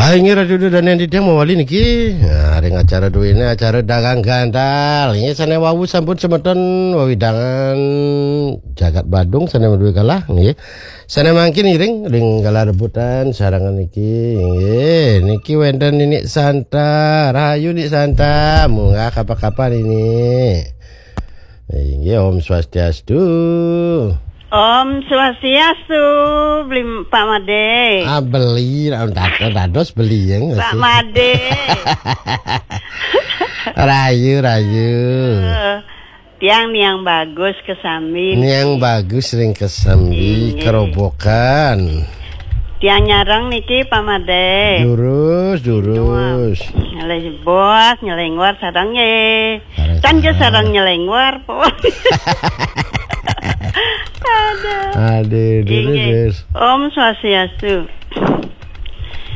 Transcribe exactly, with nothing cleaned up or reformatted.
Inggih, Ratu Dudanen Didang mawali niki. Nah, ring acara duene, acara dagang gantal. Inggih, sane wau sampun semeton wewidangan jagat Badung sane maduwe galah, nggih. Sane mangkin ngiring ring galah rebutan sarengan niki, nggih. Niki wenten Ninik Santa, rahayu Nik Santa, munggah kapan-kapan ini. Inggih, Om Swastiastu. Om Swastiastu, beli Pak Made. Ah, beli, dados beli yang Pak Made. Rayu, rayu. Eh, tiang niang bagus kesambi. Niang bagus ring kesambi. Inggih. Kerobokan. Tiang nyareng niki, Pak Made. Durus, durus. Nyelebos, nyelengwar sareng nggih. Sareng. Kan nggih sareng nyelengwar, Po. Aduh. Aduh, durus. Inggih. Om Swastiastu.